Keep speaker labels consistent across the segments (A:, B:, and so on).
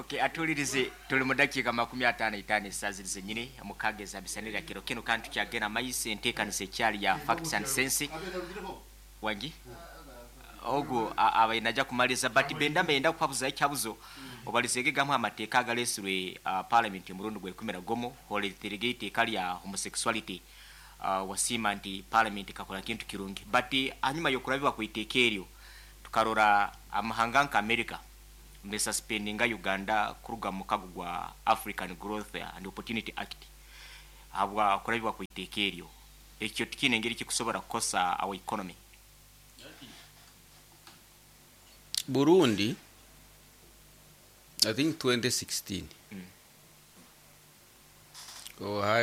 A: Okay, atuhulirize tuli mu dakiika 55 esaaha ziri zenyini 6 eza misanira kiro kinu kandi tukyagenda maiso enteekaniza ekyali ya Facts and Sense. Wangi? Ogu abaire naija kumaliza but benda mbenda kuhabuzaho ekihabuzo obalizeege gamwe aha mateeka agaretsirwe parliament omurundi gwa 11 horeterege eiteeka rya homosexuality. Wasiima nti parliament ekakora kintu kirungi but ahanyima y'okurabibwa kw'eiteeka eryo tukarora amahanga nka America nesuspendinga Uganda kuruga omu mukago gwa African Growth and Opportunity Act ahabwa kurabibwa kw'eiteeka eryo. Ekyo tikiine ngeri kikusobora kukosa our economy.
B: Burundi I think 2016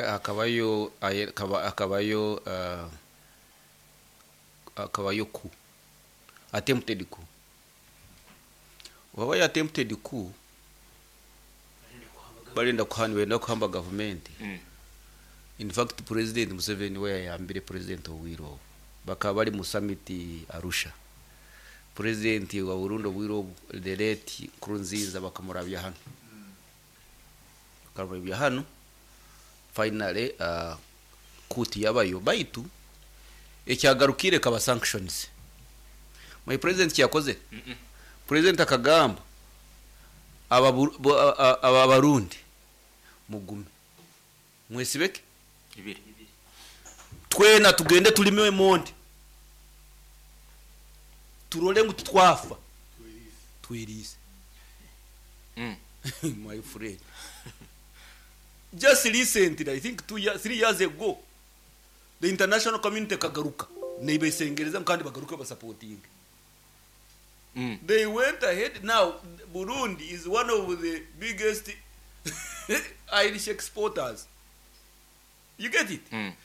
B: hakabayo hakabayo hakabayo coup attempted coup obu habayo attempted coup barenda kuha nibenda kuhamba gavumenti in fact president Museveni we yayambire president obwire obu bakaba bari mu summit Arusha president wa Burundi obwire obu the late Nkurunziza bakamurabya hanu bakamurabya hanu finally coup tiyabayo baitu ekyagarukire ekaba sanctions my president kiyakozire president akagamba aba Barundi mugume mwesibe ki
A: Ibiri.
B: Twena tugende turime emondi turore ngu titwafa tweriise. My friend just recently I think 2 years 3 years ago the international community ekagaruka nebesengereza ngu kandi bagaruke basapotinge. They went ahead now Burundi is one of the biggest Irish exporters. You get it?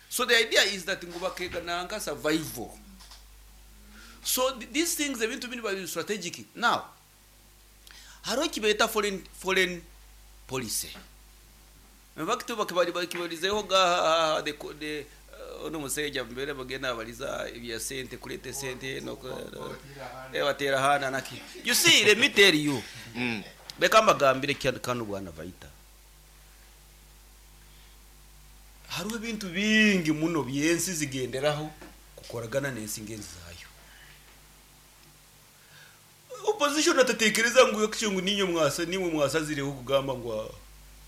B: So the idea is that ngu bakeega nanka survival. So these things ebintu binu biba biri strategic. Now hariho ekibeeta foreign, foreign policy. In fact bakibarizeho ga the, the onu omusaija mbere bagenda nabariza ebya sente kureeta esente noku bateera ahaana naki. You see let me tell you. Reka mbagambire kanu bwana Vaita. Hariho ebintu bingi muno by'ensi zigenderaho kukoragana n'ensi ngenzi zaayo. Opposition atatekereza ngu actually ngu niinywe mwasa niimwe mwasazireho kugamba ngu ah,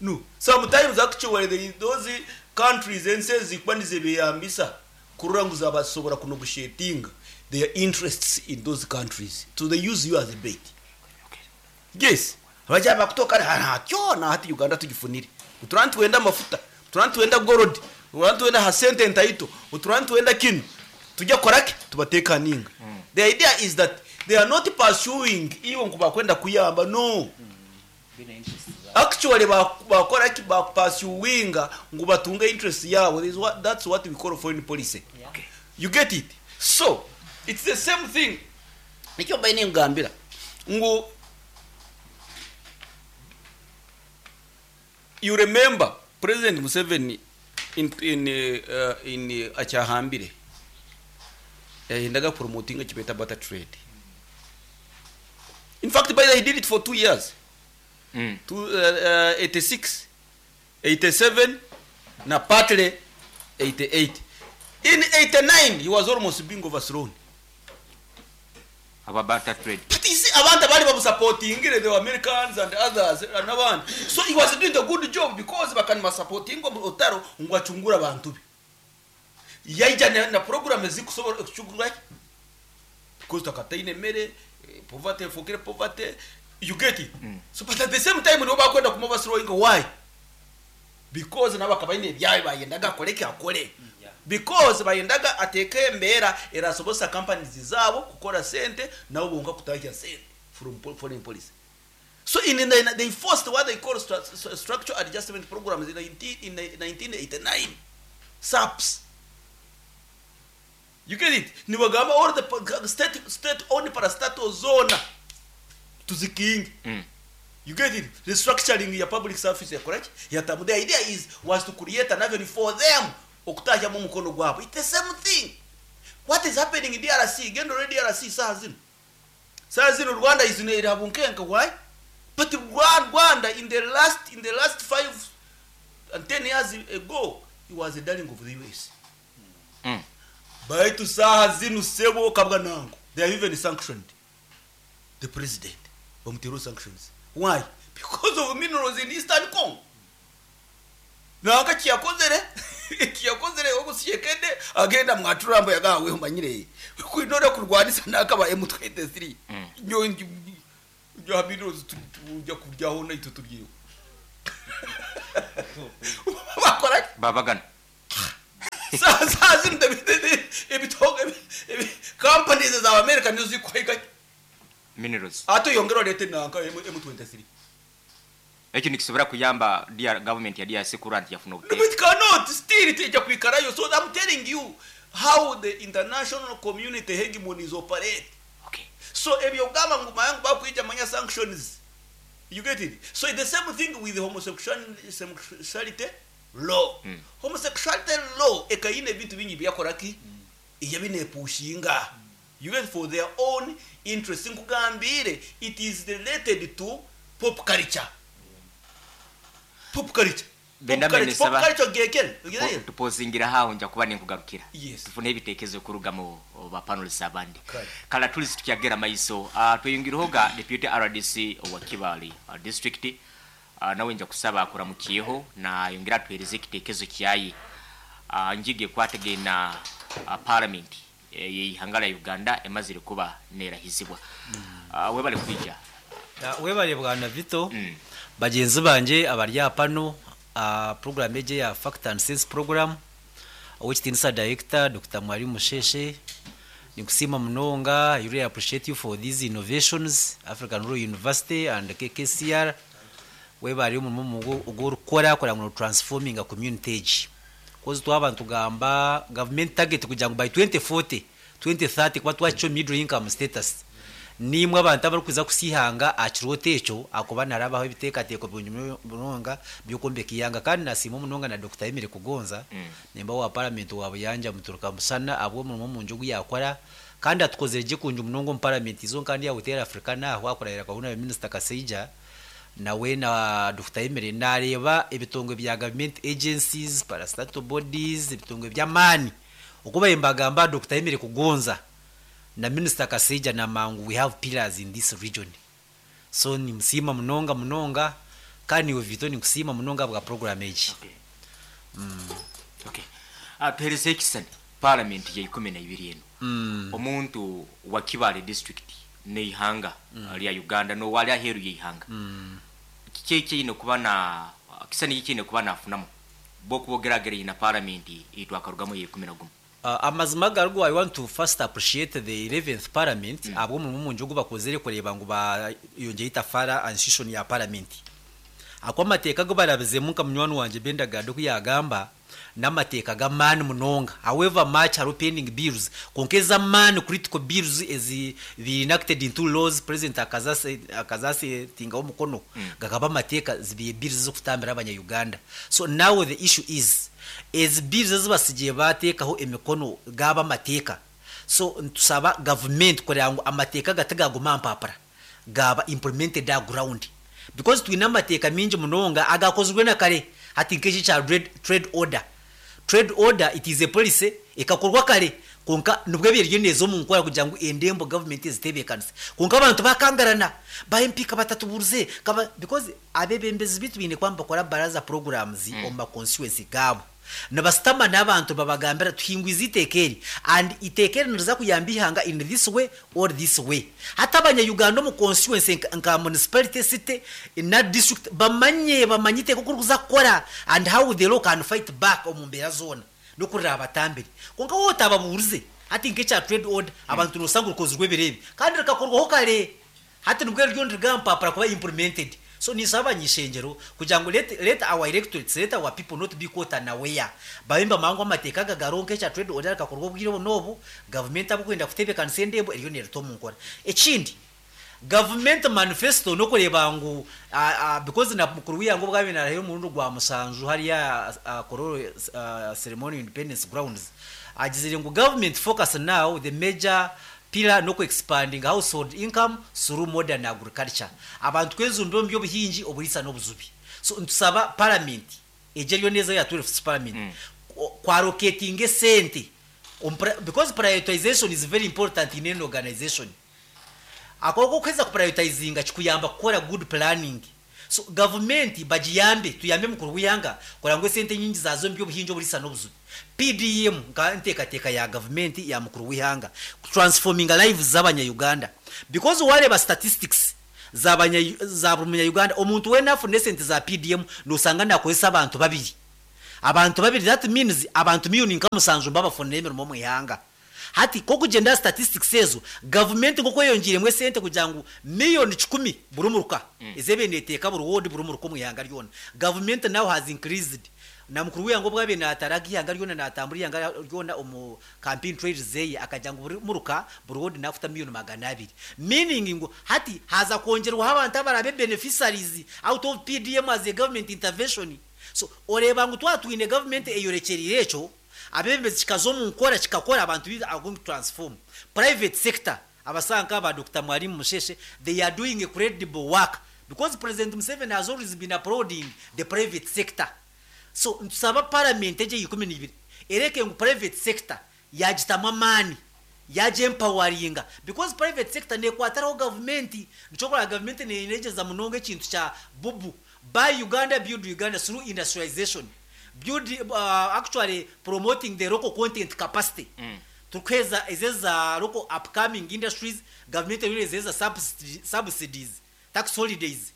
B: no. Sometimes actually there is those countries ensi ezi kuba nizebeyambisa kurora ngu zabasobora kunegotiatinga their interests in those countries. So they use you as a bait. Yes. Abagyaba bakutoka hati na hati Uganda tugifunire. Turaba nitwenda amafuta, turaba nitwenda gold, turaba nitwenda aha sente entaito, turaba nitwenda kinu. Tujya kukora ki? Tubateekaninga. The idea is that they are not pursuing iwe ngu bakwenda kuyamba no. Actually bakora ki? Bakupursuinga ngu batunge interest yaabo. There is what, that's what we call foreign policy. You get it? So, it's the same thing. Nikyo mbaire ninkugambira ngu you remember President Museveni in, in, in akyahambire yayendaga kupromotinga ekibeeta barter trade. In fact, by the way, he did it for 2 years. Two, 86, 87 na partly 88. In 89 he was almost being overthrown.
A: Aba barter trade.
B: But you see, abantu abari bamusupportingire, the Americans and others and abandi. So he was doing a good job because bakanimusupportinga omu rutaro ngu acungure abantu be. Yaija na program ezikusobora kucungura ki? Because takataine emere, poverty efookire poverty, you get it? So but at the same time nibo bakwenda kumuoverthrowinga why? Because nabo akaba aine ebyaabo bayendaga akore ki? Akore. Because bayendaga ateeke embeera erasobozesa companies zaabo kukora sente nabo bonka kutahya sente from foreign policy. So in the, they forced what they call structural adjustment programs in in 1989, SAPS. You get it? Nibagamba all the state owned parastatals zoona tuzikinge. You get it? Restructuring ya public service yakora ki? Yatamu. The idea is was to create an avenue for them okutahyamu omukono gwabo. It's the same thing. What is happening in DRC? Genda ore DRC saaha zinu. Saaha zinu Rwanda is eri aha bunkenke. Why? But Rwanda in the last in the last 5 and 10 years ago, he was a darling of the US. Baitu saaha zinu sebo kabwa nango. They have even sanctioned the president. Bamutero sanctions. Why? Because of minerals in Eastern Congo. Nanka kiyakozere kiyakozere ogusyekede agenda mwaturambo yagawe manyire kwinora kurwanisa nakaba M23. Nyo bya minerals tujya kuryaho naitwe turyeho bakora
A: Babagana.
B: Saa zino ebitogo companies za America nizo zikwaika
A: Minerals.
B: Ate yongera olete nanka M23.
A: Ekyo nikisobora kuyamba DR, government ya DRC kurora nti yafuna
B: No,
A: obuteeka.
B: it cannot. Still ijja kwikarayo. So I'm telling you how the international community hegemonies operate. So ebyo ogamba ngu mayangu bakwija manya sanctions, you get it? So it's the same thing with homosexuality law. Homosexuality law ekayina ebintu bingi byakoraki eyabinepushinga, you get, for their own interest. Nkugambire, it is related to pop culture, pop culture.
A: Benda
B: Pop culture, pop culture gekere.
A: Tupozingira haho, nja kuba ninkugarukira.
B: Yes.
A: Tufune ebitekerezo kuruga mu ba panelists abandi.
B: Kale.
A: Kala tuli tukyagera maiso, tweyongireho deputy RDC owa Kibali district, nawe nja kusaba akuramukiyeho na yongera atuhereze ekitekerezo kyaye njige kwategena parliament yeihanga lya Uganda emazire kuba nerahizibwa. Webale kwija.
C: Webale bwana Vito. Bagenzi banje abari pano, program eje ya Fact and Sense program, owekitinisa director Dr. Mwalimu Musheshe, nikusima munonga. I really appreciate you for these innovations, African Rural University and KKCR. Webale omurimo ogw'orikukora kugira ngu transforming a community egi, cause twaba nitugamba government target kugira ngu by 2040, 2030 kuba twakikyo middle income status, nimwe abantu abarikuza kusihanga aha kirooto ekyo akuba narabaho ebiteekateeko birungi munonga by'okwombeka ihanga. Kandi nasiima munonga na Dr. Emily Kugonza, member wa parliament wa Buyanja Muturuka Musana, ahabw'omurimo mungi ogu yakora kandi atukozere gye kungi munonga omu parliament izo kandi yawutera Africa naho akurahira akahuna Minister Kasaija nawe na Dr. Emily. Nareeba ebitongwe bya government agencies, parastatal bodies, ebitongwe by'amaani okuba mbagamba Dr. Emily Kugonza na Minister Kasaija na mangu, we have pillars in this region. So nimusiima munonga munonga, kandi niwe Vito, nikusiima munonga bwa program egi.
A: Okay. Tuhereze ekisani parliament ya 12 eno. Omuntu wa Kibale district neihanga lya Uganda nowali aheru yeihanga, kiki ekiine kuba na kisani kikiine kuba nafunamu bokubogeragera ina parliament itwakarugamu ya 11?
C: Amazima garugu, I want to first appreciate the 11th parliament abwo omurimo mungi ogu bakozere kureba ngu bayongeye itafara institution ya parliament, ako amateeka ago barabizemu nka munywani wanje Bendagado ku yagamba n'amateeka g'amaani munonga. However much hariho pending bills, konka ez'amaani, critical bills ezi be enacted into laws, president akazasetingaho omukono, gakaba amateeka, zibiye bills z'okutambira abanya-Uganda. So now the issue is ezi bills ezibasigiye bateekaho emikono gaba amateeka. So ntusaba government kureba ngu amateeka gatigaguma mpapura, gaba implemented a ground, because twine amateeka mingi munonga agakozirwe na kare. Hati nk'eki kya trade order, trade order, it is a policy ekakorwa kare, konka nibwo ebyo neza omu nkora kugira ngu endembo government ezitebeekanise, konka abantu bakangarana ba MP kabatatuburuze kaba, because abebembezi bitu biine kuba nibakora baraza programs omu ma constituency gaabo, nibasitama n'abantu babagambira tuhingwize iteeka eri and iteeka eri niriza kuyamba ihanga in this way or this way. Hati abanya-Uganda omu constituency nka municipality, city na district bamanye iteeka oku rikuza kukora and how the law can fight back omu mbeera zoona n'okurira abatambire. Konka wowe otababurize, hati nk'ekya trade order, abantu nosanga rukozirwe ebireebi kandi rikakorwaho kare, hati nibwo ryo nirigampapura kuba implemented. So nisaba abanyishengero kugira ngu let our electorates, let our people not be caught unaware, babe mbamangu amateeka aga garonka ekya trade order rikakorwa obwire obu n'obu gavumenti abukwenda kutebeekanisa endembo eriyo nerita omu nkora. Ekindi, government manifesto nokureba ngu because na mukuru w'ihango bwabe narahira omurundi gwa 7 hariya Kololo ceremony, independence grounds, agizire ngu government focus now, the major Pillar n'oku expanding household income through modern agriculture. Abantu kwejumba omu by'obuhingi, oburiisa n'obujubi. So nitusaba parliament egyo eriyo neeza ya 12th parliament kwallocatinga esente because prioritization is very important in any organization. Akooko okuheza kuprioritizinga kikuyamba kukora good planning. So gavumenti bagiyambe, tuyambe mukuru w'ihanga kureba ngu esente nyingi zaaza omu by'obuhingi, oburiisa n'obujubi. PDM nka enteekateeka ya gavumenti ya mukuru w'ihanga kutransforminga lives z'abanya-Uganda because wareeba statistics za buri munya-Uganda, omuntu weena afuna esente za PDM noosanga naakozesa abantu babiri. Abantu babiri, that means abantu miliyoni nka 7 nibo bafunire emirimo omu ihanga. Hati nk'okugyenda aha statistics ezo, gavumenti nk'oku eyongiiremu esente kugira ngu miliyoni 100 buri muruka ezebaire neeteeka buri ward, buri muruka omu ihanga ryona, gavumenti now has increased. Na mukuru w'ihanga obu abaire naataraga ihanga ryona, naatambura ihanga ryona omu campaign trails zeye, akagira ngu buri muruka, buri ward naakuta miliyoni 200, meaning ngu hati haza kwongyerwaho abantu abaraabe beneficiaries out of PDM as a government intervention. So oreeba ngu twaba twine gavumenti eyorekyereire ekyo, abeebembezi kikaza omu nkora, kikakora, abantu are going to transform. Private sector, abasaha nk'aba Dr Mwalimu Musheshe, they are doing incredible work because President Museveni has always been applauding the private sector. So nitusaba parliament egyo 12 ereke ngu private sector yagitamu amaani, yagyempoweringa, because private sector nekwatiraho gavumenti. Nikyo kureba gavumenti neyegyeza munonga ekintu kya BUBU, Buy Uganda, Build Uganda, through industrialization, build, actually promoting the local content capacity. Turikuheeza ezi za local upcoming industries, gavumenti eriyo neziheeza subsidies, tax holidays.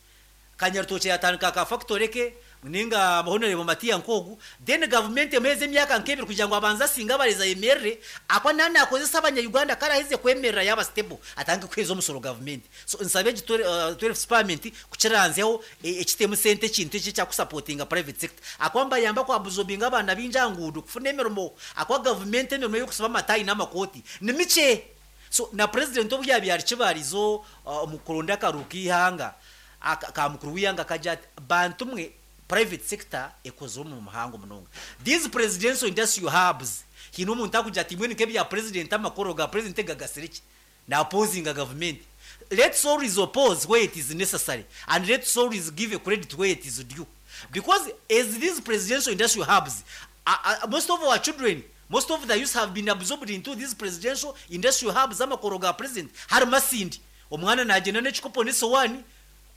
C: Kanyarutokye yatandika ka factory ke ninga Honorable Matia Nkogu, then gavumenti emuheeza emyaka nk'ebiri kugira ngu abanze asinge abarezi, ayemerere akwa nani nakozesa abanya-Uganda. Karaheze kwemerera, yaba stable, atandike kuheeza omusoro gavumenti. So nsabe egi 12 parliament kukiranzyaho, ekitemu sente, ekintu eki ekyakusupportinga private sector, akwa mbayamba kwabsorbinga abaana bingi aha nguudo kufuna emirimo, akwa gavumenti emirimo y'okusiba amatayi n'amakooti ni mikye. So na president obu yabiire ari kibarizo omu kuronda akaruhu k'ihanga ka mukuru w'ihanga, akagira ati, "Bantu mwe, private sector ekozire omu muhango munonga." These presidential industrial hubs, hiine omuntu akugira ati, "Mbwenu nk'ebya president, amakoro ga president gagasire ki naopposinga government?" Let's always oppose where it is necessary and let's always give a credit where it is due, because as these presidential industrial hubs, most of our children, most of the youth have been absorbed into these presidential industrial hubs. Amakoro ga president hari Masindi, omwana nagenda n'ekikopo n'esowani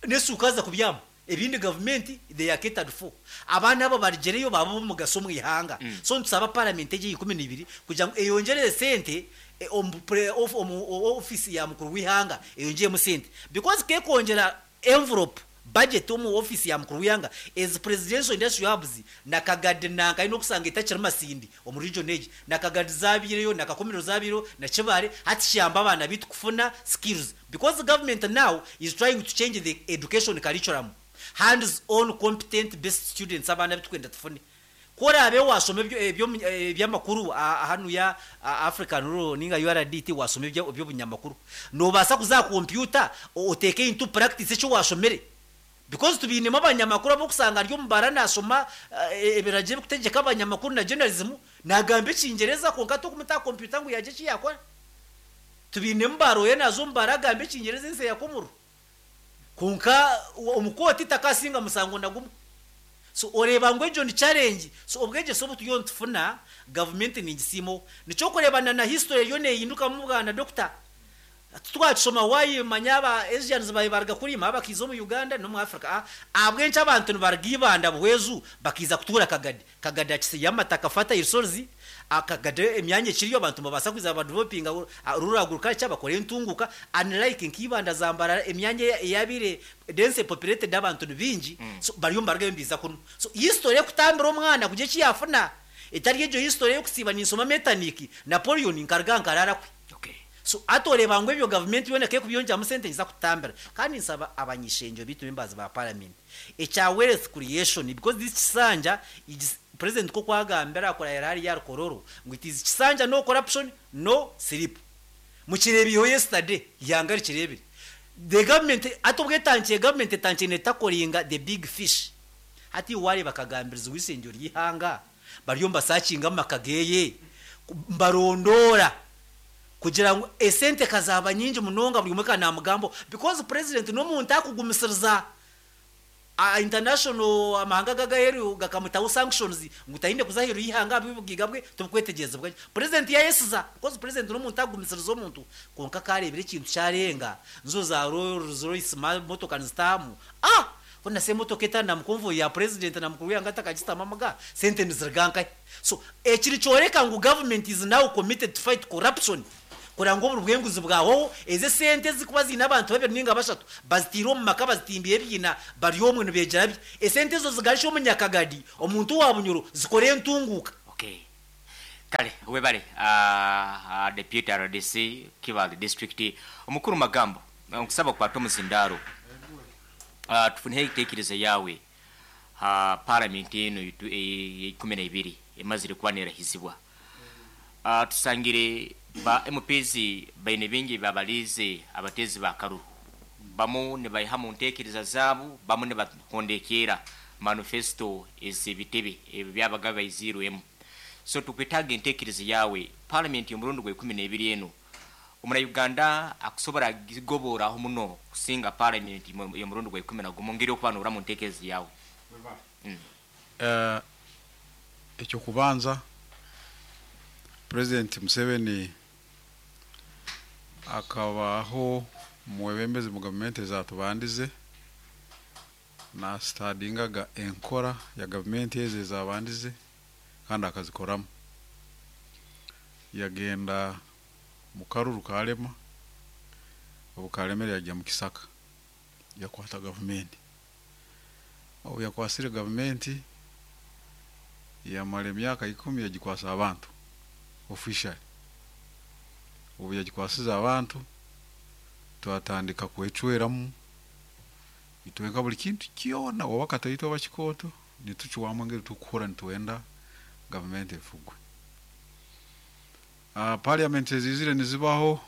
C: n'esuuka aza kubyama, ebindi gavumenti they are catered for. Abaana abo barigereyo baba b'omugaso omu ihanga. So nitusaba parliament egi 12 kugira ngu eyongyere sente omu office ya mukuru w'ihanga, eyongyeremu sente, because kekwongyera envelope budget omu office ya mukuru w'ihanga, ezi presidential industrial hubs na Kagadi nanka aine okusanga etakiri Masindi omu region egi, na Kagadi zabiireyo, na Kakumiro zabiireyo, na Kibale. Hati kiyamba abaana bitu kufuna skills, because the government now is trying to change the education curriculum, hands on competent best students. Abaana bitukwenda tufune, korabe wasoma ebyamakuru hanu ya African Rural ninga URDT, wasoma ebyobunyamakuru, nobaasa kuza computer oteeke into practice ekyo washomere, because tubinemu abanyamakuru abokusanga ari omubara nasoma ebiragiro ebikutegeka abanyamakuru na journalism, nagamba ekingereza, konka tokumuta computer ngu yagye eki yakora. Tubinemu baroye naza omubara agamba ekingereza ensi yakomuru, konka omukooti takasinga musango na gumwe. So oreeba ngu egyo ni challenge. So obwegyese obu turiyo nitufuna, gavumenti ningisiimaho. Nikyo kureebana na history eriyo neehindukamu, bwana doctor. Twakishoma, wayimanya aba Asians baye baruga kurima bakiza omu Uganda n'omu Africa. Ahabw'enki abantu nibaruga Ibanda, Buhweju, bakiza kutuura Kagadi? Kagadi akisiyo amataka, fertile soils. Akagadi emyanya ekiriyo, abantu nibabaasa kwiza badevelopinga rural agriculture, bakore entunguka, unlike nk'Ibanda, Zambarara, emyanya eyabaire dense populated, abantu ni bingi. So bariyo nibarugayo nibiza kunu. So history ekutambira omwana kugira eki yafuna etari egyo history y'okusiiba ninsoma Metternich, Napoleon, nkaruga nkarara kwe. So ati oreeba ngu ebyo gavumenti yoona kekubyongyeramu sente niza kutambira. Kandi nsaba abanyishenjo bitu, members ba parliament, ekya wealth creation, because this kisanja is, president ko kwagambira akorera hariya Rukororo ngu it is kisanja no corruption, no sleep. Mukireebiho yesterday, ihanga rikireebire. The government ati obwetankiye, government etankiye netacklinga the big fish. Hati wareeba akagambirizi w'isengero ry'ihanga, bariyo mbasearchinga mu maka geye, mbarondora. Kugira ngu esente kazaaba nyingi munonga buri omwe ka namugambaho because president n'omuntu akugumisiriza. International amahanga g'aheeru gakamutaho sanctions ngu taine kuza aheeru y'eihanga ahabw'obugaiga bwe tibukwetegyerezibwa gye. President yayesiza because president n'omuntu akugumisiriza omuntu kwonka ka areebire ekintu kyarenga nizo za Rolls Royce motoka nizitaahamu ah! Hoona se emotoka etari na mu convoy ya president na mukuru w'eihanga atakagitaamu amaga sente niziruga nkahi? So eki nikyoreka ngu government is now committed to fight corruption kureba ngu oburi bw'enguzi bwahwaho, ezi esente ezirikuba ziine abantu babiri ninga bashatu baziteire omu maka bazitimbiire ebiina bari omwe nibeegyera bye, esente ezo zigarukye omu nyakagadi omuntu owa Bunyoro zikore entunguuka.
A: Okay. Kale webale Deputy rdc Kibaale District Omukuru Magambo nkusaba okwate omuzindaaro tufuneho entekereza yaawe ha Paramenti enu eya 12 emazire kuba nerahizibwa. Tusangire ba MPs baine bingi ebibabaliize abateezi ba karuru. Bamu nibaiha mu ntekereza zaabu, bamu nibahondekeera manifesto ez'ebitebe ebi byabaga baiziirwemu. So tukwetaaga entekereza yaawe. Paramenti y'omurundi gwa 12 enu, omuna Uganda akusobora gigoboraho muno kusinga Paramenti y'omurundi gwa 11 ngeri okuba norora mu ntekereza yaawe.
D: Eky'okubanza, Purezidenti Museveni akabaho omwebembezi omu gavumenti ezatubandize, nasitadingaga enkora ya gavumenti ezo ezabandize kandi akazikoramu. Yagenda mu karuru karema, obu karemere yagya mu kisaka yakwata gavumenti. Obu yakwasire gavumenti yamara emyaka 10 yagikwasa abantu officially. Obu yagikwasize abantu twatandika kwecweramu itwenka buri kintu kyona, oba kataito oba kikooto, nitucwamu engeri tukukora nitwenda gavumenti efugwe. Parliament ezizire nizibaho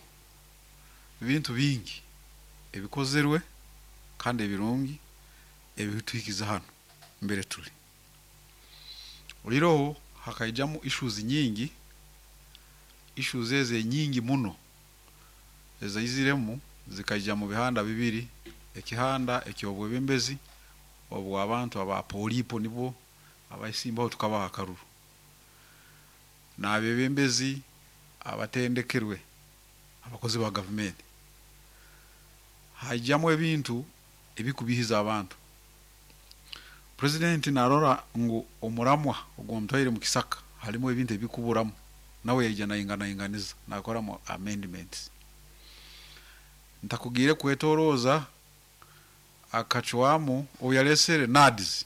D: ebintu bingi ebikozerwe kandi ebirungi ebituhikize hanu mbere turi. Oiroho hakaijamu issues nyingi, issues ezo nyingi muno ezaiziremu zikaija mu bihanda bibiri, ekihanda eky'obwebembezi obw'abantu aba polipo nibo abasimbaho tukabaha akaruru, n'abebembezi abatendekerwe abakozi ba gavumenti. Haijamu ebintu ebikubihiza abantu. Purezidenti narora ngu omuramwa ogwamutwaire mu kisaka harimu ebintu ebikuburamu, nawe yaija nainganainganiza nakoramu amendments. Ntakugiire kwetoroza akacwamu obu yaresere NAADS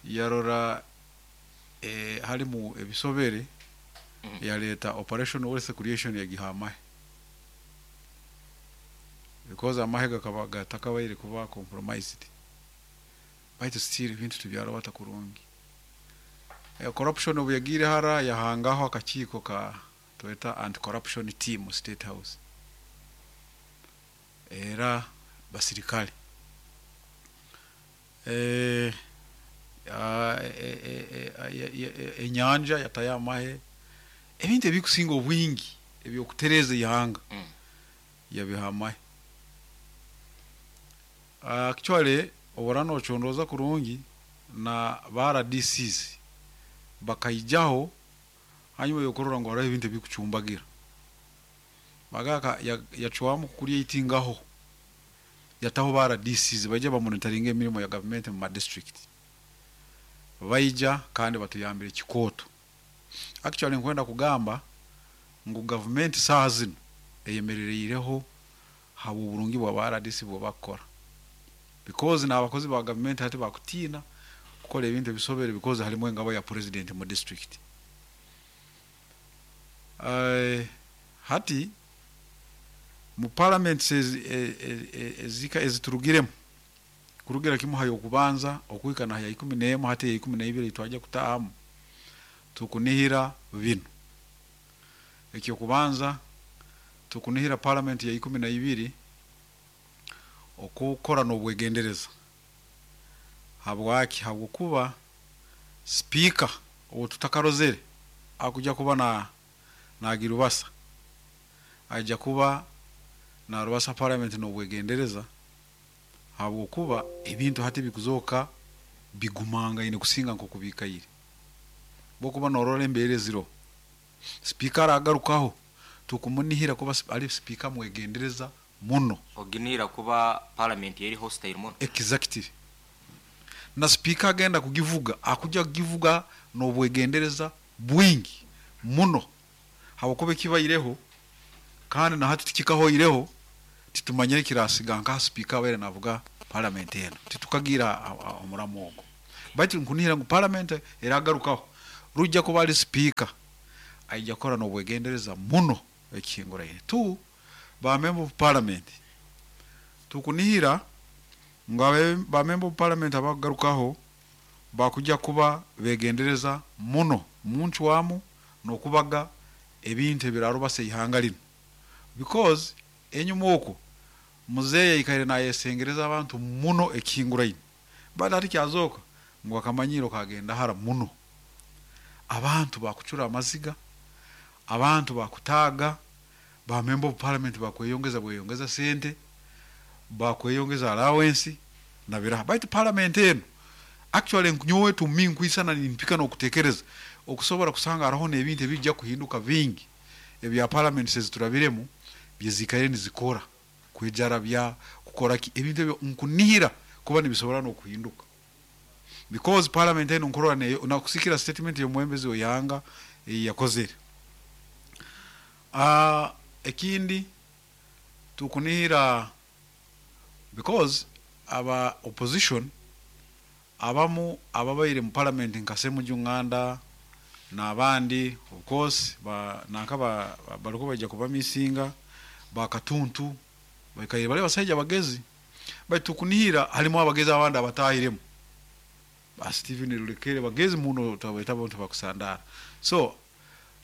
D: yarora harimu ebisobere, yaleta operation wealth creation yagiha amahe, because amahe gakaba gatakabaire kuba compromised, baitu still ebintu tibyarabata kurungi. Corruption obu yagiire hara yahangaho akakiiko ka tweta anti-corruption team State House, era basirikale. Enyanja yatayo amahe, ebintu ebikusinga obwingi ebyokutereza ihanga yabiha amahe. Actually obora nochondoza kurungi na ba RDCs bakaijaho hanyuma yokurora ngu hariho ebintu ebikucumbagira. Bagaka yacwamu kucreatingaho yataho ba RDCs baija bamonitoringa emirimo ya gavumenti mu ma district. Baija kandi batuyambire kikooto. Actually nkwenda kugamba ngu gavumenti saaha zino eyemerereireho habw'oburungi bwa ba RDC bwe bakukora, because n'abakozi ba gavumenti hati bakutiina kukora ebintu ebisobere because harimu engabo ya president mu district. Hati mu parliament ezika eziturugiremu kurugira kimu ha y'okubanza okuhika na ya 11, hati ya 12 twajya kutahamu, tukunihira bino. Ekyokubanza, tukunihira parliament ya 12 okukora n'obwegendereza. Habwaki? Habwokuba speaker owo tutakarozere akuja kuba na Naagirubasa aija kuba naarubasa parliament n'obwegendereza habwokuba ebintu hati bikuzooka bigumangaine kusinga nk'oku biikaire. Bwokuba noorora embeera eziroho, sipiika aragarukaho tukumunihira kuba ari sipiika mwegendereza muno.
A: Oginihira kuba parliament eri hostile muno.
D: Exactly. Na sipiika agenda kugivuga akuja kugivuga n'obwegendereza bwingi muno habwokuba ekibaireho kandi na hati tikikahoireho, titumanyire ekirasiga nkaha sipiika abaire navuga parliament enu, titukagiira omuramu ogwo. Baitu nkunihira ngu parliament eragarukaho rujja kuba ari sipiika aija kukora n'obwegendereza muno ekihinguraine. Two, ba member of parliament tukunihira ngu ba member of parliament abakugarukaho bakuja kuba begendereza muno muncwamu n'okubaga ebintu ebirarubasa eihanga linu, because enyuma okwo muzeeyi aikaire nayesengereza abantu muno ekihinguraine, but hati kyazooka ngu akamanyiro kagenda hara muno. Abantu bakucura amaziga, abantu bakutaaga, ba member of parliament bakweyongeza bweyongeza sente, bakweyongeza allowance na biraha. Baitu parliament enu actually nyowe to me nkwisana nimpika n'okutekereza okusobora kusanga hariho n'ebintu ebijja kuhinduka bingi ebya parliament eziturabiremu byezikaire nizikora kwejarabya kukora ki, ebintu ebyo nkunihira kuba nibisobora n'okuhinduka, because parliament enu nkurora neyo nakusikira statement y'omwembezi w'eihanga eyi yakozere. Ekindi tukunihira, because aba opposition abamu ababaire mu parliament nka Ssemujju Nganda n'abandi, of course ba nanka bariko baija kubamisinga, bakatuntu baikaire bali abasaija bagezi, baitu tukunihira halimu abagezi abandi abatahiremu, ba Stephen Rulekere, bagezi muno, tabaita abantu bakusandara. So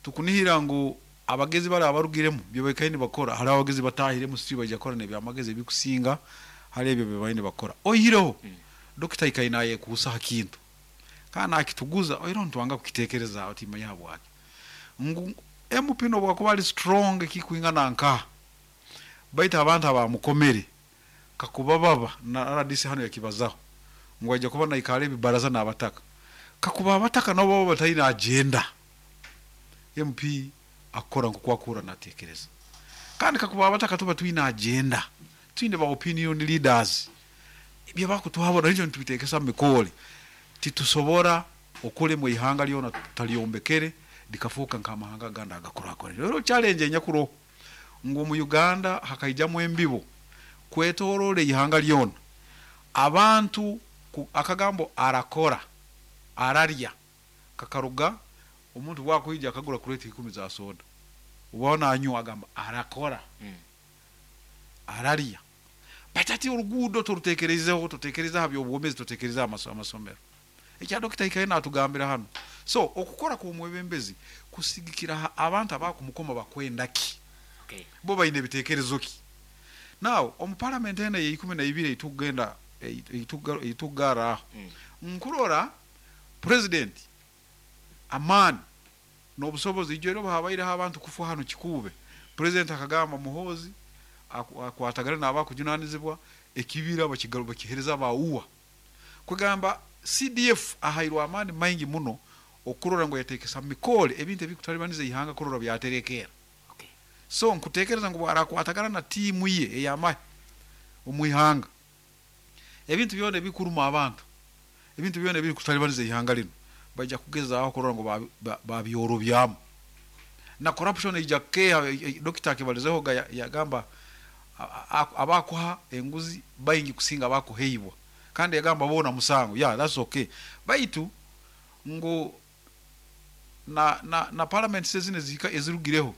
D: tukunihira ngu abagezi bali abarugiremu bye baikaire nibakora, hariho abagezi batahiremu, si baija kukora n'ebyamagezi ebikusinga hali ebyo bye baine bakora. Oihireho dokita aikaire nayekuusa ha kintu kandi nakituguza, oihireho nitwanga kukiteekerezaaho, timanya habwaki, ngu MP nobwakuba ari strong ekikwingana nkaha, baitu abantu abamukomere kakuba baba na RDC hanu yakibazaho ngu aija kuba naikara ebibaraza n'abataka, kakuba abataka nabo baba bataine agenda, MP akukora nk'oku akuhurra nateekereza. Kandi kakuba abataka tuba twine agenda, twine ba opinion leaders, ebyo bakutuhabura nikyo nitubiteekesa mu mikoore, titusobora okulema eihanga lyona tutalyombekere likafuuka nk'amahanga agandi agakurakurana. Rero challenge enyakuroho ngu omu Uganda hakaijamu embibo kwetoroora eihanga lyona, abantu akagambo arakora ararya kakaruga omuntu bwakwija akagura crate 10 za soda, oba nanywa agamba arakora, ararya. Baitu ati oruguudo torutekereizeho, totekereza aha by'obwomezi, totekereza aha amasomero. Ekya dokita aikaire natugambira hanu. So okukora kw'omwebembezi kusigikira aha abantu abakumukoma bakwenda ki, bo baine ebitekerezo ki. Now omu parliament eno eya 12 eitukugenda eitukugarra aho, nkurora president amaani n'obusobozi, ijo era habaireho abantu kufa hanu Kikuube, president akagamba Muhoozi akwatagane n'abakujunanizibwa ekibira bakihereza abauwa. Kwegamba CDF ahairwe amaani maingi muno okurora ngu yateekesa mikole ebintu ebikutalibaniza eihanga kurora byaterekeera. So nkutekereza ngu bwarakwatagana na tiimu ye ey'amahe omu ihanga, ebintu byona ebikuruma abantu, ebintu byona ebirikutalibaniza eihanga linu baija kugezaaho kurora ngu babyorobyamu. Na corruption eija kukeeha, dokita akibalizeho yagamba abakuha enguzi baingi kusinga abakuheibwa, kandi yagamba boona musango, yeah, that's okay. Baitu ngu na parliament zino ezihika ezirugireho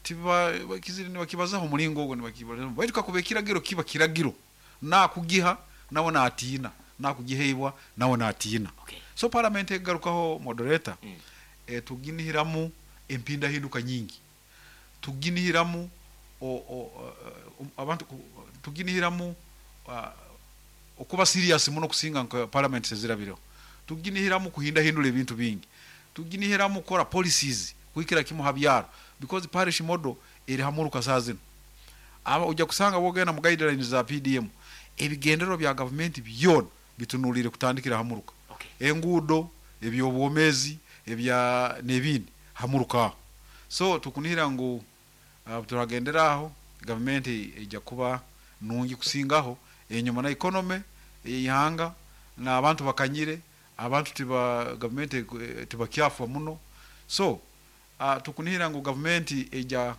D: nibakibazaho omuringo ogwo, nibakibalizaho. Baitu kakuba ekiragiro kiba kiragiro, nakugiha nawe natiina, nakugiheibwa nawe natiina. So parliament egarukaho, moderator, tuginihiramu empindahinduka nyingi, tuginihiramu abantu tuginihiramu okuba serious muno kusinga nka parliament ezirabireho, tuginihiramu kuhindahindura ebintu bingi, tuginihiramu kukora policies. kuhikira kimu ha byaro because parish model eri ha muruka saaha zinu. Aba oija kusanga bwogenda mu guidelines za PDM, ebigendererwa bya gavumenti byona bitunuliire kutandikira ha muruka.
A: Okay.
D: Enguudo, eby'obwomeezi, ebya n'ebindi ha muruka aho. So tukunihira ngu obu turagendera aho, gavumenti eija kuba nungi kusingaho enyuma na economy ey'eihanga n'abantu bakanyire, abantu tiba gavumenti tibakyafwa muno. So tukunihira ngu gavumenti eija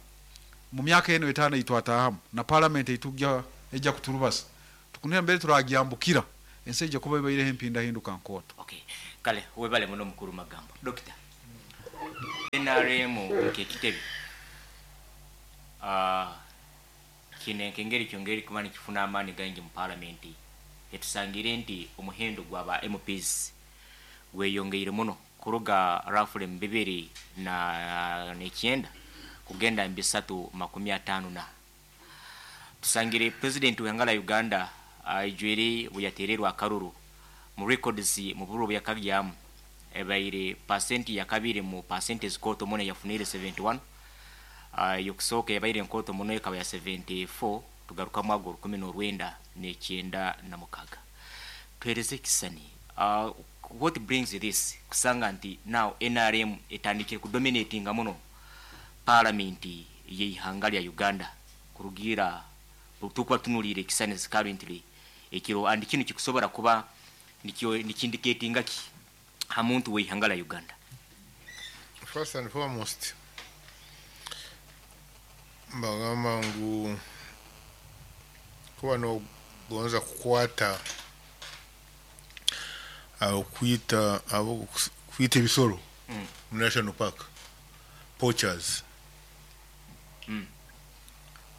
D: mu myaka enu etaano ei twataahamu na parliament ei tugya eija kuturubasa, tukunihira mbere turagyambukira ensi eija kuba ebaireho empindahinduka nkooto.
A: Okay. Kale webale muno mukuru Magambo. Dokita, nrm nk'ekitebe kiine nk'engeri kyongera kuba nikifuna amaani gaingi mu palamenti, etusangire nti omuhendo gwa ba MPs gweyongeire muno kuruga roughly mu 2009 kugenda mu 350 na. Tusangire president w'ihanga lya Uganda aijwire buyatererwa akaruru mu records mu bururu buyakagyamu ebaire pasenti ya kabiri mu pasenti ezikooto muno yafunire 71, eyokusooka yabaire nkooto muno ekaba ya 74 tugaruka mwago orukumi n'orwenda n'ekyenda na mukaga. Tuhereze ekisani, what brings this kusanga nti now NRM etandikire kudominatinga muno palamenti y'eihanga lya Uganda kurugiira tukuba tunuliire ekisani currently ekiro, and kinu kikusobora kuba nikyo nikindicatinga ki ha muntu w'eihanga lya Uganda?
E: First and foremost, mbagamba ngu kuba nogonza kukwata abo kwita abo kwita ebisoro mu national park, poachers,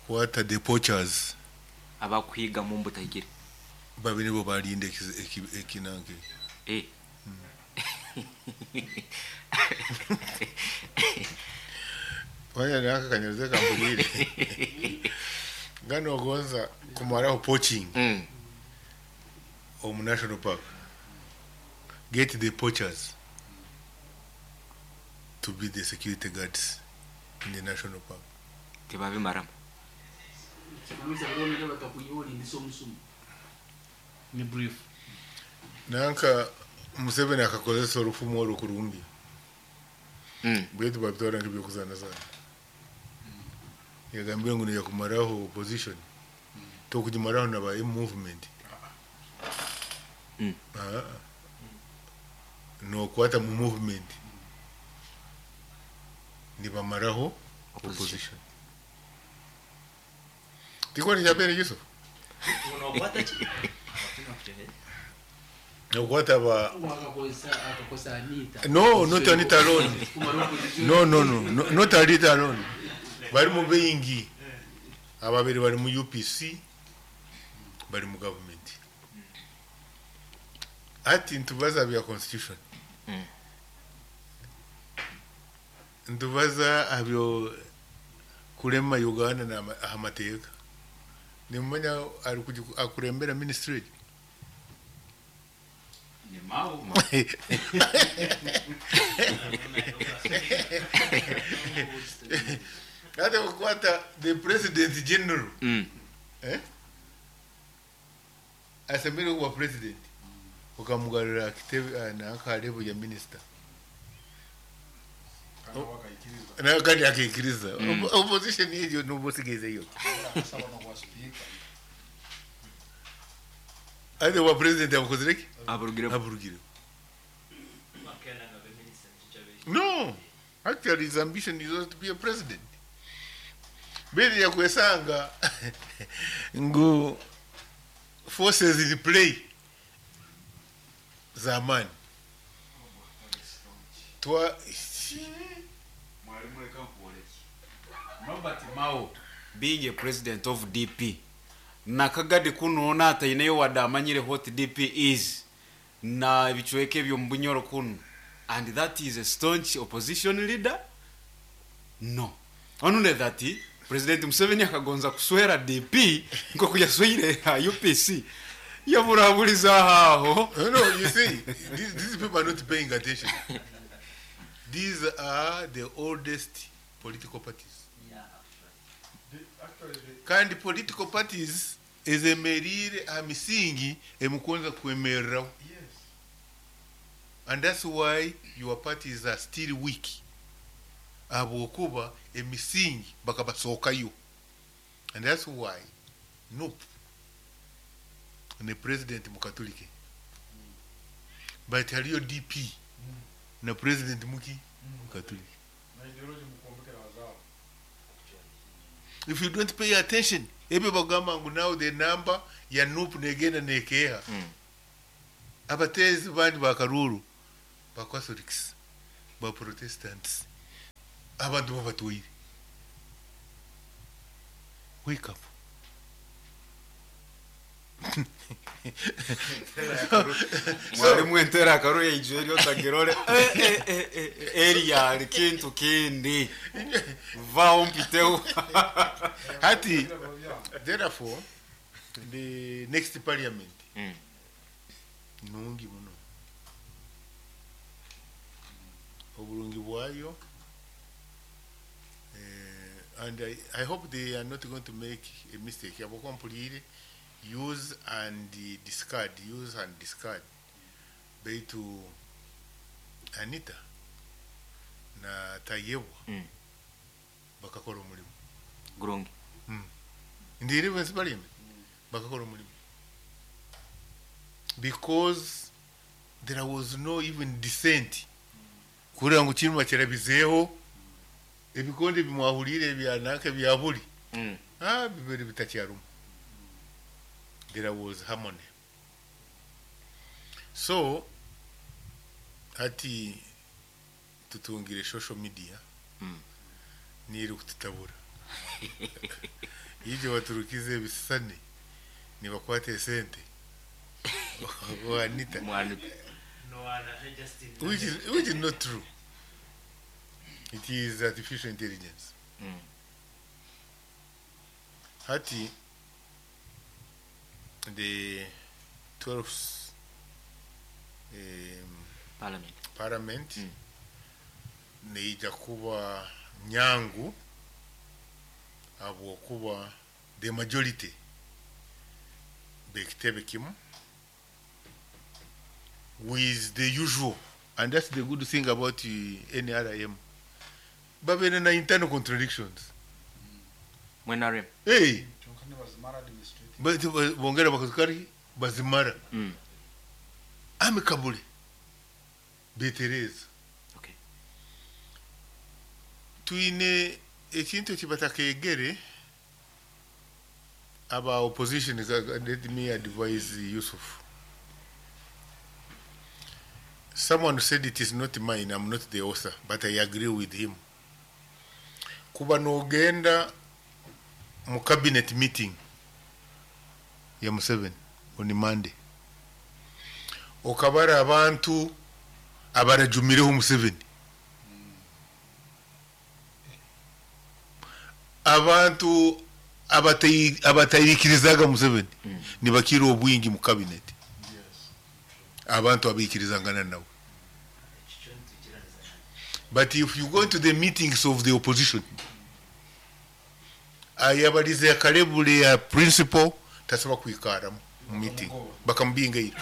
E: kwata the poachers.
A: Abakuhiga mu mbutahikire.
E: Babe nibo barinda ekinange. Waya naka kanyuze kambulire ngano ogonza kumaraho poaching omu national park, get the poachers to be the security guards in the national park.
A: Tibabimaramu.
F: Ni brief.
E: Nanka Museveni akakozesa orufumu orwo kurungi. Bwetu babitwara nk'ebyokuzana sana. Yagambye ngu niyakumaraho opposition. Tokugimaraho na ba movement. Nokwata mu movement. Nibamaraho opposition. Tiko ni jabere Yusuf. Nokwata ba No, not Anita alone. No, no, no, no, not Anita alone. Bari mu bingi. Ababiri bari mu UPC, bari mu government. Ati ntubaza bya constitution. Ntubaza abyo kulema Uganda na amateeka. Nimumanya ari akurembera ministry.
F: Ni Mao.
E: Ate kukwata the president general. Asemere kuba president. Ukamugarura kitebe na akarebo ya minister. Na kandi akikiriza. Opposition hiyo nubusigeze hiyo. Ate wa president abukozereki?
A: Aburugire.
E: Aburugire. No. Actually his ambition is not to be a president. Beli ya kwesanga ngu forces in play zamani. Twa
F: Mwalimu reka nkuworeke. Norbert Mao being a president of DP nakagadi kuno nataineyo wadde amanyire what DP is na ebicweka ebyo mu Bunyoro kuno, and that is a staunch opposition leader. No, only that President Museveni akagonza kuswera DP nkoku yasweire UPC yaburabuliza aho.
E: No, no, you see, these people are not paying attention. These are the oldest political parties. Kandi political parties ezemeriire aha misingi emukunza kwemereraho. And that's why your parties are still weak. Ahabwokuba emisingi bakabasookayo. And that's why NUP ne president mukatolike. But hariyo DP na president muki mukatolike. If you don't pay attention, ebyo bagamba ngu now the number ya NUP negenda nekeha. Abateezi bandi bakaruru ba Catholics, ba Protestants, abantu babatwire. Wake up.
F: Mwalimu entera akaru yaijwe eryo otagirore eri kintu kindi vaho mpiteho.
E: Hati, therefore, the next parliament nungi muno. Oburungi bwayo, and I hope they are not going to make a mistake. Abakompulire use and discard, use and discard. Baitu Anita na Tayebwa bakakora omurimo.
A: Gurungi.
E: In the 11th parliament bakakora omurimo. Because there was no even dissent. Kurira ngu kintu bakirabizeeho ebikonde bimwahurire byanaka byaburi. Bibere bitakyarumu. There was harmony. So hati tutungire social media niri kututabura. Ije baturukize ebisane nibakwate esente. Anita. Which is not true. It is artificial intelligence. Hati the 12th parliament neija kuba nyangu habwokuba the majority bekitebe kimu with the usual, and that's the good thing about the NRM. Babene na internal contradictions.
A: NRM.
E: Hey. But bongera bakazikari bazimara. Amicably. Betereza.
A: Okay.
E: Tuine ekintu kibatakegere aba opposition, let me advise Yusuf. Someone said it is not mine, I'm not the author, but I agree with him. Kuba nogenda mu cabinet meeting ya Museveni on Monday. Okabara abantu abarajumireho Museveni. Abantu abatayikirizaga Museveni nibakira obwingi mu cabinet. Abantu abikirizangana nawe. But if you go to the meetings of the opposition, ayabalize akalebule ya principal tasaba kwikara mu meeting bakamubingaira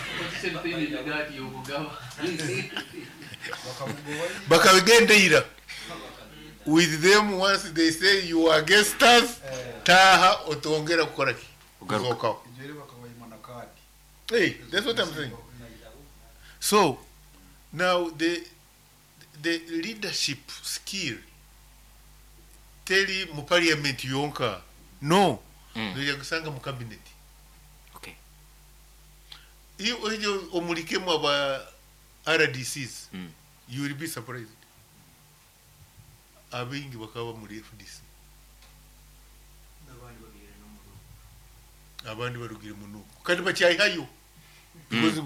E: bakabigendeira with them. Once they say you are against us, taha otongera kukora ki kuzokaho. Hey, that's what I'm saying. So now the leadership skill teri mu parliament yonka no noja kusanga mu cabinet.
A: Okay.
E: Iyo ojo omulikemu aba RDCs, you will be surprised. Abingi bakaba muri FDC. Abandi barugire munuko. Kandi bacyayihayo. Because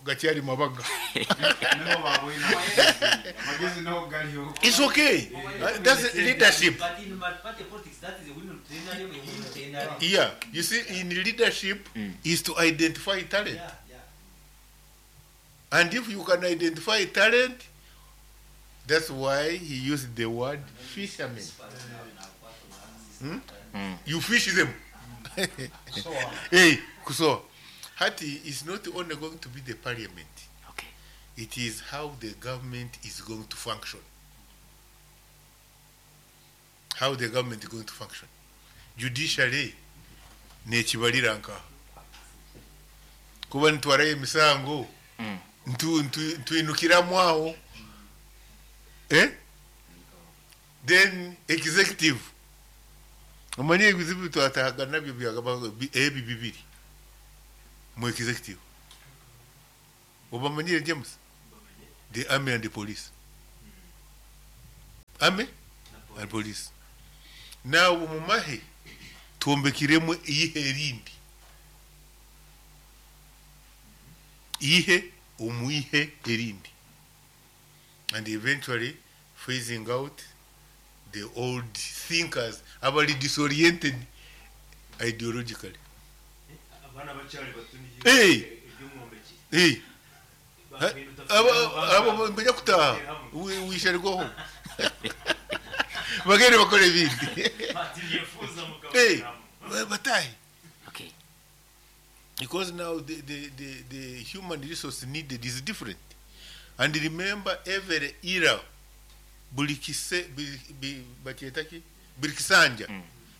E: gacyari mabaga. It's okay. That's leadership.
C: But in party politics, that is a winning trainer.
E: Yeah, you see, in leadership is to identify talent.
C: Yeah, yeah.
E: And if you can identify talent, That's why he used the word fishermen. You fish them. Hey, so Hati is not only going to be the parliament.
A: Okay.
E: It is how the government is going to function. How the government is going to function. Judiciary nekibalira nka kuba nitwarayo emisango ntwinukiramu aho, eh? Then executive, omanye ebizibu twatahaga nabyo byagaba ebi bibiri mu executive. Obamanyire, James, the army and the police. Army and police. Now mumahe twombekiremu iyihe erindi, ihe omuihe erindi, and eventually phasing out the old thinkers abali disoriented ideologically.
G: Abaana bakyali bato.
E: Hey!
G: Ebyomwombeki.
E: Hey, abo mbenya kutaha, wisharirwaho bagende bakora ibindi.
G: Batiyefuza.
E: Hey,
G: mugabo.
E: Batahe.
A: Okay.
E: Because now the human resource needed is different. And remember, every era, buli kise bakyeta ki, buli kisanja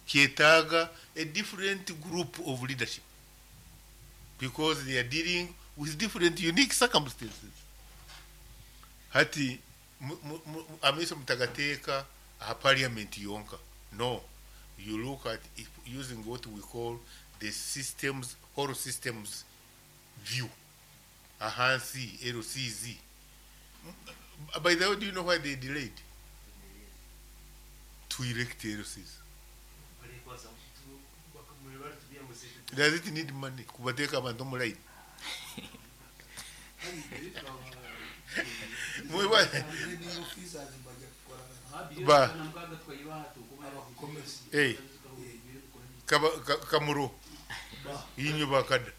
E: kyetaaga a different group of leadership because they are dealing with different unique circumstances. Hati amaiso mutagateeka aha parliament yonka. No, you look at if using what we call the systems, whole systems view. Ahansi LCZ. By the way, do you know why they delayed to erect LCs? Does it need money kubateeka abantu mu line? Ba hey, kamuro inywe bakada.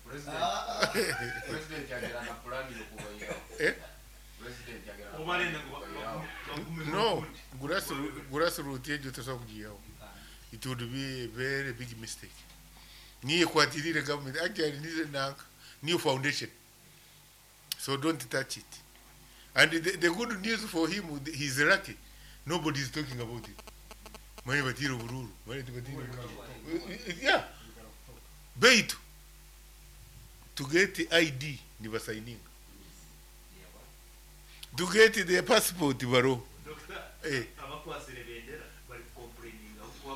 F: President yagera na plan yokubairaho.
E: Eh?
F: President yagera.
E: No, grassroot egyo tosobola kugiyaho. It would be a very big mistake. Niyo ekwatirire government actually, nize nanka new foundation, so don't touch it. And the good news for him, he's lucky nobody is talking about it. Manye batire obururu, manye tibatire obururu. Yeah, beitu to get ID nibasayininga, to get the passport baro. Eh.
G: Abakwasire bendera bari complaininga kuba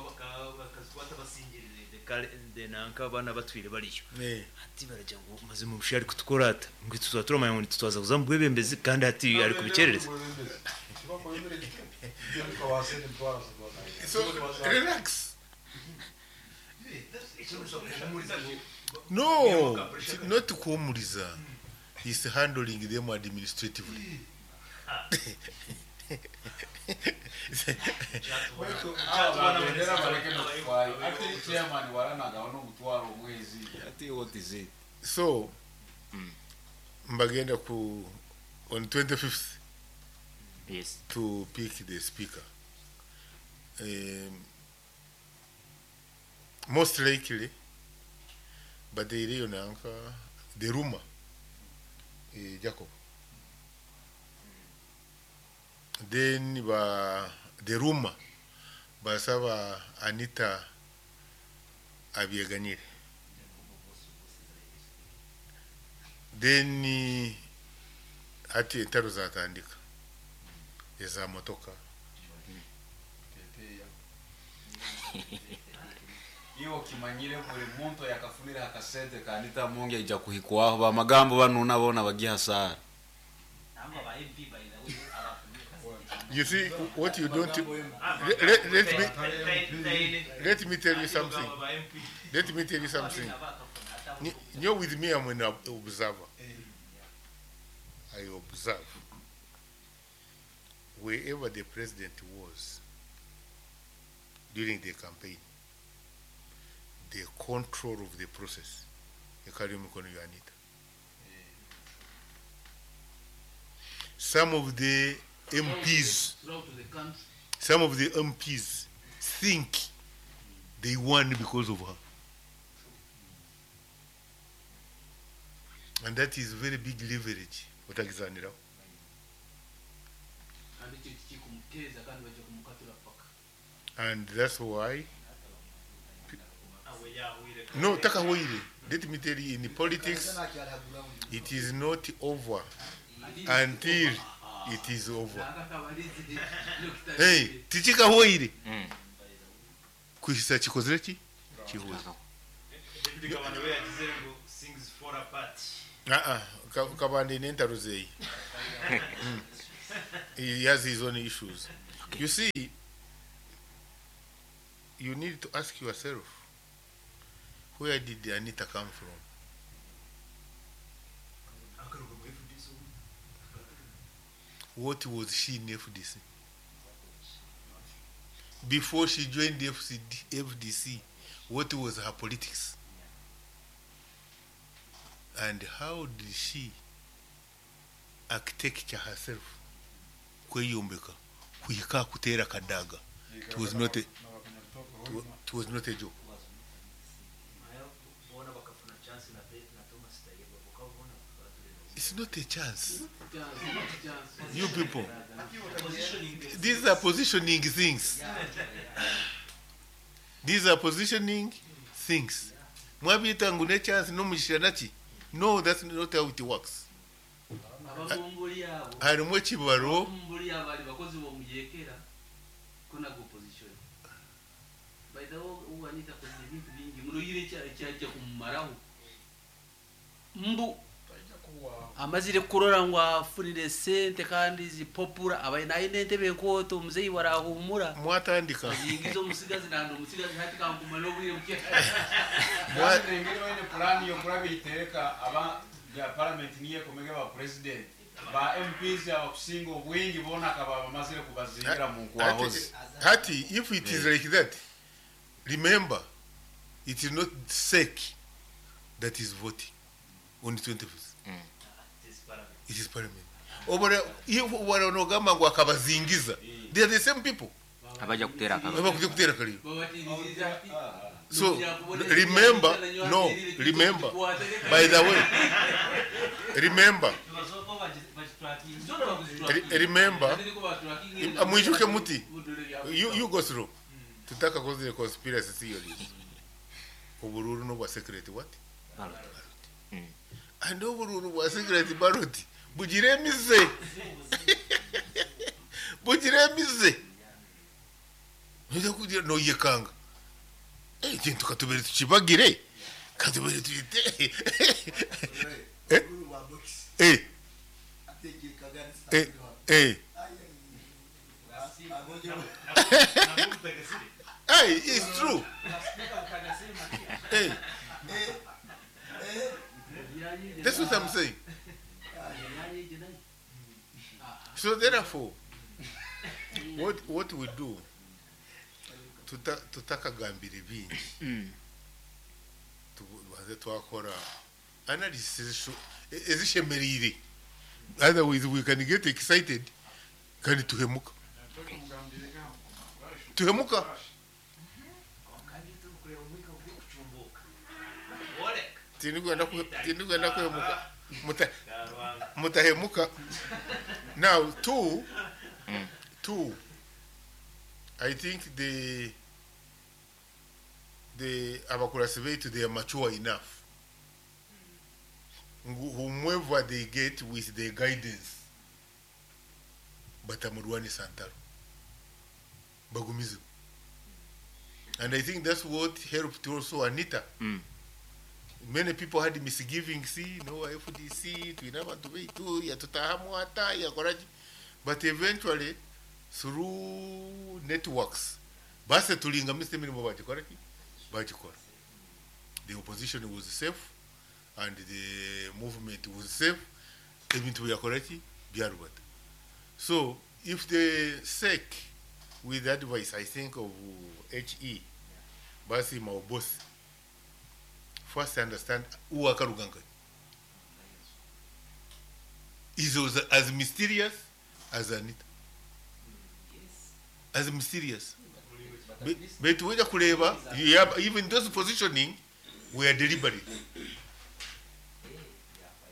G: bakazikwata basingirire nanka abana batwire bariyo.
E: Eh.
G: Ati baragira ngo maze mu bushari kutukora ata ngo tuzaba turamanya ngo ntitwaza kuza mu bwebembezi kandi ati ari kubikerereza.
E: So relax. No, not kuhumuriza. He's handling them administratively.
F: Bendera bareke nokufaayo ate chairman waranagaho n'omutwaro omwezi ate what is it?
E: So mbagenda ku on 25th to pick the speaker. Most likely, but the iriyo nanka the rumor, Jacob. Then ba the rumor basaba Anita abyeganyire. Then ati entaro zatandika eza motoka.
F: Iwo kimanyire buli muntu yakafunira akasente ka Anita Mungi aija kuhikwaho bamagambo banuna bona bagihasara.
C: Nangwa ba MP, by the way, abafunire.
E: You see what you don't let me tell you something. Let me tell you something. You with me, I'm an observer. I observe. Wherever the president was during the campaign, the control of the process, ekali omu mikono ya Anita. Some of the MPs,
B: Throughout the country.
E: some of the MPs think they won because of her. And that is very big leverage. Otagizaniraho.
B: Kandi ekyo kikumuteza kandi bajja kumukatura paka.
E: And that's why No, Takahwire. Let me tell you, in politics, it is not over until it is over. Hey, tichikahwire. Kuhisa chikozere ki? Kihuza.
G: David Kabanda we yagize ngo things fall apart.
E: Ah ah, Kabanda n'entaro zeyi. He has his own issues. You see, you need to ask yourself, where did Anita come from?
G: Akaruga mu FDC ubu.
E: What was she in FDC? Before she joined the FDC, what was her politics? And how did she architecture herself? Kweyombeka, kuhika kuteera kadaga. It was not a, it was not a joke.
G: Nayo bona bakafuna chance na na Thomas Tayebwa bakabona batureba.
E: It's not a chance. You people, these are positioning things. These are positioning things. Mwabiyita ngu ne chance n'omugisha naki? No, that's not how it works.
B: Ababumbuli abo.
E: Harimu ekibaro
B: Ababumbuli abo bali bakozi b'omuyekera ko nago opposition. By the way, uwanita akoze ebintu bingi muno yire ekyajja kumumaraho. Mbu amazire kurora ngu afunire sente kandi zipopura abaye naine entebe enkooto omuzeyi warahumura
E: mwatandika
B: yingiza omusigazi nandi omusigazi hati kankumara obwire bukye.
F: Engeri baine pulaani yokuraba iteeka aba bya parliament niyo ekomege ba president ba MPs abakusinga obwingi boona akaba bamazire kubazingira mu nkwahozi.
E: Hati, if it is like that, remember, it is not SEC that is voting on the 25th. It is parliament. Obara, if waranogamba ngu akabazingiza, they are the same people.
A: Abajja kuteera akalulu.
E: Abakuja kuteera akalulu.
B: Babatiriza ati
E: So, remember, no, remember, by the way, remember, remember, mwijuke muti, you go through. Tutaka kozire conspiracy theories. Obururu n'obwa secret what?
A: Ballot.
E: And obururu bwa secret ballot bugira emize. Bugira emize. Noza kugira noyekanga. Ekintu katubere tukibagire. Katubere tuyite. Eh? Eh. Eh. Eh. Hey, it's true. Hey. That's what I'm saying. So therefore, what we do, tutakagambire bingi. Tubanze twakora analysis ezishemerire. Otherwise we can get excited kandi tuhemuka. Tuhemuka. Tindigwenda kuhemuka. Mutahemuka. Now, two, I think the abakurasi baitu, they are mature enough. Whomever they get with their guidance, batamurwani santaro. Bagumize. And I think that's what helped also Anita. Many people had misgivings, see, no FDC, twina abantu baitu, yatutahamu hata, yakoraji. But eventually, through networks, base tulinga mr. Mirimo bagikora ki? Bagikora. The opposition was safe, and the movement was safe. Ebintu byakora ki? Byarubata. So, if the SEC, with advice, I think, of HE, basi maobosi, first understand who Akaruganka is as mysterious as Anita. As mysterious. Baitu wija kureeba, you have, even those positioning were deliberate.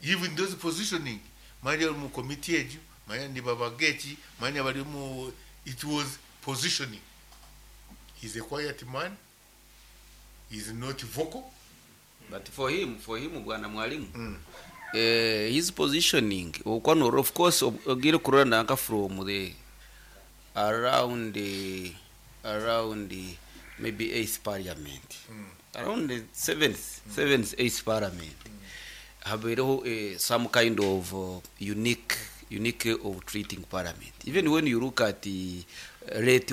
E: Even those positioning, manya mu committee egyo, manya nibabaga eki, manya bari mu, it was positioning. He's a quiet man. He's not vocal.
B: But for him, bwana mwalimu, his positioning okwanora, of course, ogire kurora nanka from the around the maybe eighth parliament, around the seventh, eighth parliament, habereho some kind of unique of treating parliament, even when you look at the rate.